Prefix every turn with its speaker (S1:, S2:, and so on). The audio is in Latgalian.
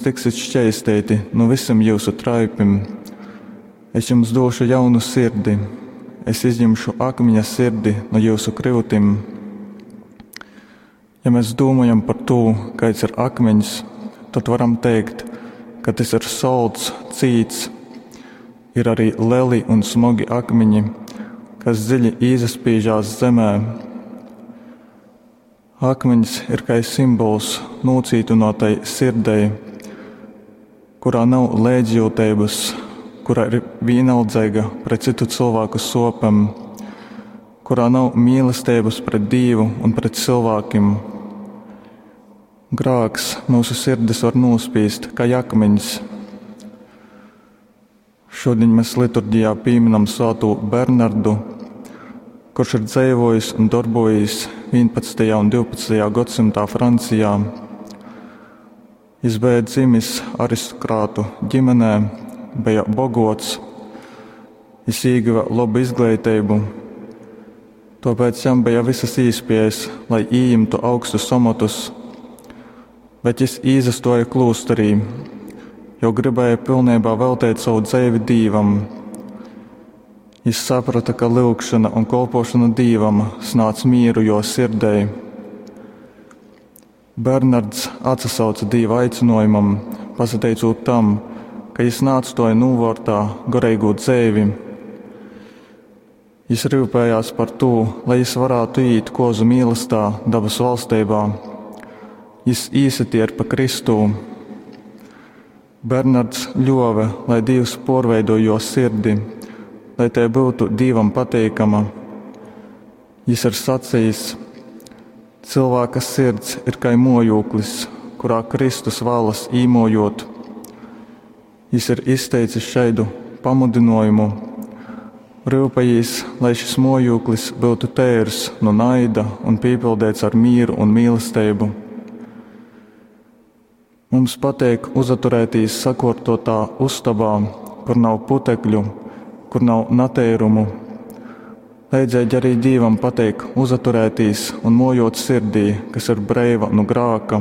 S1: Tiksit šķeisteiti nu vysim jyusu traipim. Es jums dūšu jaunu sirdi, es izjimšu akmiņa sirdi nu jyusu kryutim. Ja mes dūmojam par tū, kaids ir akmiņs, tod varam teikt, ka tys ir solts, cīts. Ir arī leli un smogi akmiņi, kas dziļi īsaspīžās zemē. Akmiņs ir kai simbols nūcītynuotai sirdei, kurā nav leidzjūteibys, kura ir vīnaldzeiga pret cytu cylvāku suopem, kurā nav mīlesteibys pret Dīvu un pret cylvākim. Grāks myusu sirdis var nūspīst kai akmiņs. Šudiņ mes liturgijā pīminam svātū Bernardu, kurš ir dzeivojis un dorbojīs 11. un 12. gadsimtā Francijā. Jis beja dzimis aristokrātu ģimenē, beja bogots, jis īguva lobu izgleiteibu, tuopēc jam beja visas īspējas, lai ījimtu augstus omotus, bet jis īsastuoja klūsterī, jo gribēja pilnībā veltīt savu dzeivi Dīvam. Jis saprata, ka lyugšana un kolpošana Dīvam snādz mīru jo sirdei. Bernards atsasauca Dīva aicinojumam, pasateicūt tam, ka jis naatstoja nūvōrtā goreigū dzeivi. Jis ryupējās par tū, lai jis varātu iet kozu mīlestā dabas valstībā. Jis īsatierpa Kristū. Bernards ļuove, lai Dīvs porveido jo sirdi, lai tai būtu Dīvam pateikama. Jis ir sacījis: Cilvēka sirds ir kai mojūklis, kurā Kristus vēlas īmojot. Jis ir izteicis šaidu pamudinājumu: Rūpējīs, lai šis mojūklis būtu teirs no naida un piepildīts ar mieru un mīlestību. Mums pateik uzaturētīs sakortotā ustabā, kur nav putekļu, kur nav nateirumu. Leidzīgi arī Dīvam pateik uzaturētīs un mojot sirdī, kas ir breiva nu grāka.